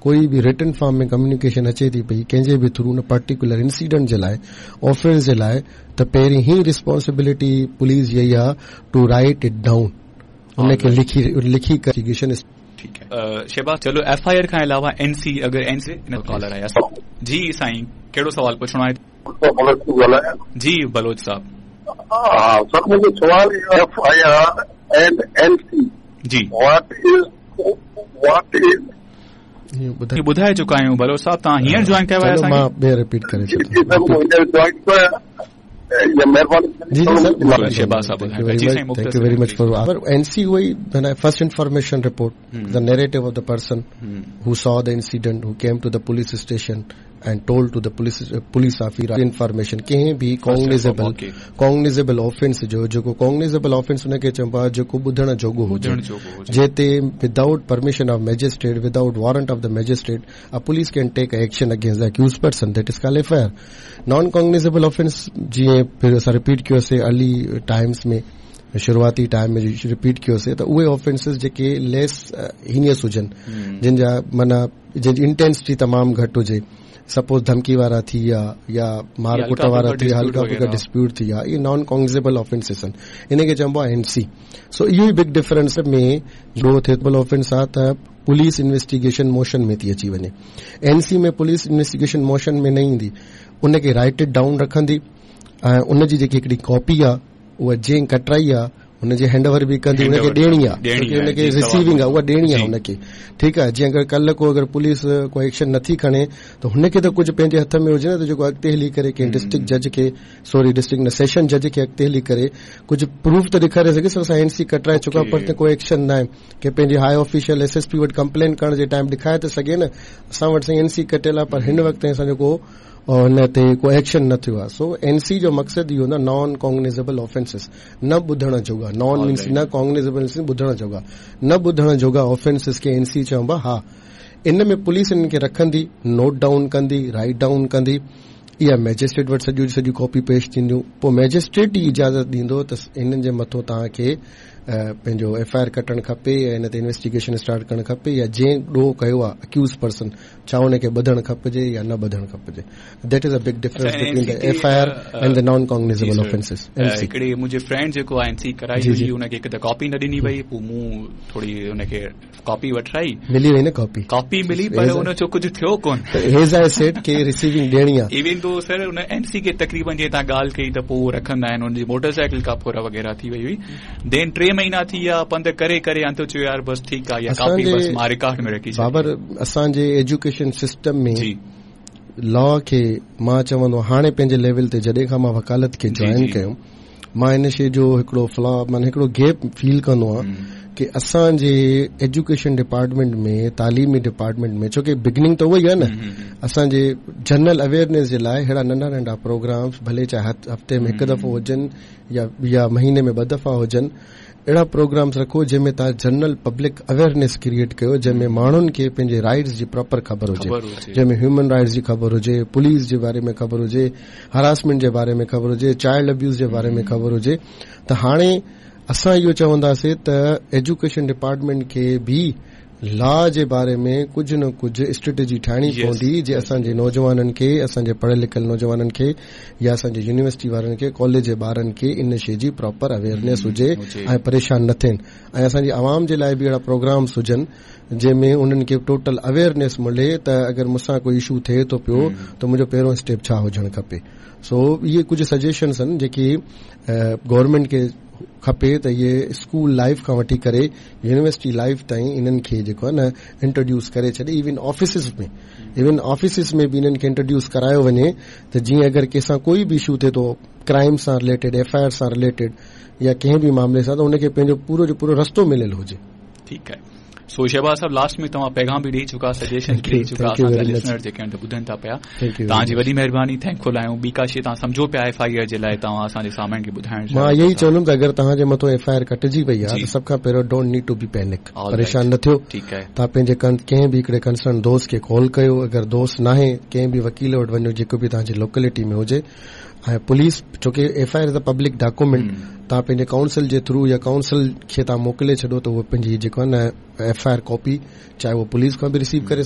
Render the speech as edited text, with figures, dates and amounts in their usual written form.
ڪوئي به written form ۾ communication اچي ٿي پئي ڪنهن جي به ٿرو ان پرٽيڪولر انسيڊنٽ جي لاء آفينس جي لاء ته پهرين ئي ريسپانسبلٽي پوليس جي اها ٽو رائيٽ it down ان کي لکي لکي انويسٽيگيشن ٺيڪ آهي شهباز چلو ايف I R کان علاوه اين سي اگر اين سي ڪالر آيا جي سائين ڪهڙو سوال پڇڻو آهي جي بلوچ صاحب ها سر منهنجو سوال F I R and N C G what is what is ٻڌائي چڪا آهيون بلوچ صاحب توهان هينئر جوائن ڪيو آهي اسان کي مان ٻيهر رپيٽ ڪري ڇڏيان جي جي سر شهباز صاحب جي سائين thank you very much for N C اهو ئي first information report the narrative of the person who saw the incident who came to the police station and told to the police police officer information ڪنهن به ڪوگنيزيبل ڪوگنيزيبل offence جو جيڪو ڪوگنيزيبل offence ان کي چئبو آهي جيڪو ٻڌڻ جوڳو هجي جنهن تي without permission of magistrate without warrant of the magistrate a police can take action against the accused person that is call F I R non cognizable offence جيئن پھر اسان رپيٽ ڪيوسي ارلي ٽائمز ۾ شروعاتي ٽائيم ۾ رپيٽ ڪيوسي ته اهي آفينسز جيڪي ليس هينيس هجن جن جا معنيٰ جن جي انٽينسٽي تمام گهٽ هجي سپوز ڌمڪي وارا ٿي ويا يا مار ڪٽ وارا ٿي ويا هلڪا ڦلڪا ڊسپيوٽ ٿي ويا اهي نان ڪوگنيزيبل آفينسز آهن ان کي چئبو آهي اين سي سو اهو ئي بگ ڊفرنس ۾ ڏوهه ٿئي ٿو آفينس آهي ته پوليس انويسٽيگيشن موشن ۾ ٿي اچي وڃي اين سي ۾ پوليس انويسٽيگيشن موشن ۾ نه ايندي ان کي رائيٽ ڊائون رکندي ۽ ان جي جيڪي هڪڙي ڪاپي آهي اها جنهن ڪٽرائي آ ان جي هينڊ اوور به ڪندي ان کي ڏيڻي آ ڇو ڪي ان کي رسيونگ آ اها ڏيڻي آ ان کي ٺيڪ آ جيئن اگر ڪلهه ڪو اگر پوليس ڪو ايڪشن نٿي کڻي ته هن کي ته ڪجهه پنهنجي هٿ ۾ هجي نه ته جيڪو اڳتي هلي ڪري ڪنهن ڊسٽرڪٽ جج کي سوري ڊسٽرڪٽ نه سيشن جج کي اڳتي هلي ڪري ڪجهه پروف ته ڏيکاري سگهي سر اسان اين سي ڪٽرائي چڪا پر ڪو ايڪشن ناهي ڪي پنهنجي high official S S P وٽ ڪمپلين ڪرڻ جي ٽائيم ڏيکاري ته سگهي نه اسان وٽ سائين اين سي ڪٽيل آ پر هن وقت تائين اسان جو ڪو ان تي ڪو ايڪشن نه ٿيو آهي سو اين سي جو مقصد اهو هوندو آهي نان ڪوگنيزيبل آفينسز نه ٻڌڻ جوڳا نان مينس نه ڪوگنيزيبل ٻڌڻ جوڳا نه ٻڌڻ جوڳا آفينسز کي اين سي چئبو آهي ها ان ۾ پوليس انهن کي رکندي نوٽ ڊائون ڪندي رائيٽ ڊائون ڪندي اها مئجسٽريٽ وٽ سڄيون سڄيون ڪاپي پيش ٿينديون پوء مئجسٽريٽ ئي اجازت ڏيندو ته انهن جي مٿو توهان کي پنهنجو ايف I R ڪٽڻ کپي يا ان تي انويسٽيگيشن اسٽارٽ ڪرڻ کپي يا جنهن ڏوهه ڪيو آهي اڪيوز پرسن ڇا ان کي ٻڌڻ کپجي يا نه ٻڌڻ کپجي that is a big difference between the F I R and the non cognizable offences N C هڪڙي منهنجي فرينڊ جيڪو اين سي ڪرائي هئي ان کي هڪ ته ڪاپي نه ڏني وئي پوء مون ٿوري ان کي ڪاپي وٺرائي ملي وئي نه ڪاپي ڪاپي ملي پر ان جو ڪجهه ٿيو ڪون ايز I said ڪي ريسيونگ ڏيڻي آ ايون دو سر ان اين سي کي تقريبن جيئن توهان ڳالهه ڪئي ته پوء رکندا آهن ان جي موٽر سائيڪل کان ڦر وغيره ٿي وئي هئي دين ٽي مهينا ٿي ويا پنڌ ڪري ڪري انت چيو يار بس ٺيڪ آ اها ڪاپي بس مان رڪارڊ ۾ رکي ڇڏي بابر اسان جي ايجوڪيشن سسٽم ۾ لا کي مان چوندو هاڻي پنهنجي ليول تي جڏهن کان مان وڪالت کي جوائن ڪيو مان ان شي جو هڪڙو فلا معنيٰ هڪڙو گيپ فيل ڪندو آهيان ڪي اسان جي ايجوڪيشن ڊپارٽمينٽ ۾ تعليمي ڊپارٽمينٽ ۾ ڇو ڪي بگننگ ته اها ئي آهي نه اسان جي جنرل اويئرنيس جي لاء اهڙا ننڍا ننڍا پروگرامس ڀلي چاهي هفتي ۾ هڪ دفعو هجن يا يا مهيني ۾ ٻه دفعا هجن اهڙا پروگرامس رکو جنهن ۾ توهان جنرل پبلڪ اويئرنيس ڪريئيٽ ڪيو جنهن ۾ ماڻهن کي پنهنجي رائيٽس جي پراپر خبر هجي جنهن ۾ هيومن رائيٽس جي خبر هجي پوليس جي باري ۾ خبر هجي هراسمينٽ جي باري ۾ خبر هجي چائلڊ ابيوز جي باري ۾ خبر هجي ته هاڻي اسان اهو چونداسين ته ايجوڪيشن ڊپارٽمينٽ کي به لا جي باري ۾ ڪجهه نه ڪجهه اسٽريٽجي ٺاهڻي پوندي جي اسان جي نوجوانن کي اسان جي پڙهيل لکيل نوجوانن کي يا اسان جي يونيورسٽي وارن کي ڪاليج جي ٻارن کي ان شي جي پراپر اويئرنيس هجي ۽ پريشان نه ٿين ۽ اسان جي عوام جي لاء به اهڙا پروگرامس هجن جنهن ۾ انهن کي ٽوٽل اويئرنيس ملي ته اگر مون سان ڪوئي اشو ٿئي ٿو پيو ته منهنجو پهريون اسٽيپ ڇا هجڻ کپي سو اهي ڪجهه سجيشنس آهن جيڪي گورنمينٽ کي کپي ته اهي اسڪول لائيف کان وٺي ڪري يونيورسٽي لائيف تائين انهن کي جيڪو آهي نه انٽروڊيوس ڪري ڇڏي ايون آفيسز ۾ ايون آفيسز ۾ به انهن کي انٽروڊيوس ڪرايو وڃي ته جيئن اگر ڪنهن سان ڪوئي به اشو ٿئي ٿو ڪرائم سان رليٽيڊ ايف I R سان رليٽيڊ يا ڪنهن به معاملي سان ته ان کي پنهنجو پورو جو پورو رستو مليل هجي. ٺيڪ آهي سو شهباز صاحب لاسٽ ۾ توهان پيغام به ڏئي چڪا سجيشن به ڏئي چڪا اسان جا لسنر جيڪي آهن ٻڌن ٿا پيا توهان جي وڏي مهرباني thank فل آهيون ٻي ڪا شي توهان سمجهو پيا ايف I R جي لاء توهان اسان جي سامعين کي ٻڌائڻ مان اهو ئي چوندم ته اگر توهان جي مٿو ايف I R ڪٽجي وئي آهي ته سڀ کان پهريون don't need to be panic پريشان نه ٿيو ٺيڪ آهي توهان پنهنجي ڪنهن به هڪڙي ڪنسرن دوست کي ڪال ڪيو اگر دوست ناهي ڪنهن به وڪيل وٽ وڃو جيڪو به توهان جي لوڪلٽي ۾ هجي ۽ پوليس ڇو ڪي F I R is a public document توهان پنهنجي ڪائونسل جي ٿرو يا ڪائونسل کي توهان موڪلي ڇڏو ته اهو پنهنجي جيڪو آهي نه ايف I R copy چاهي اهو پوليس کان به رسيو ڪري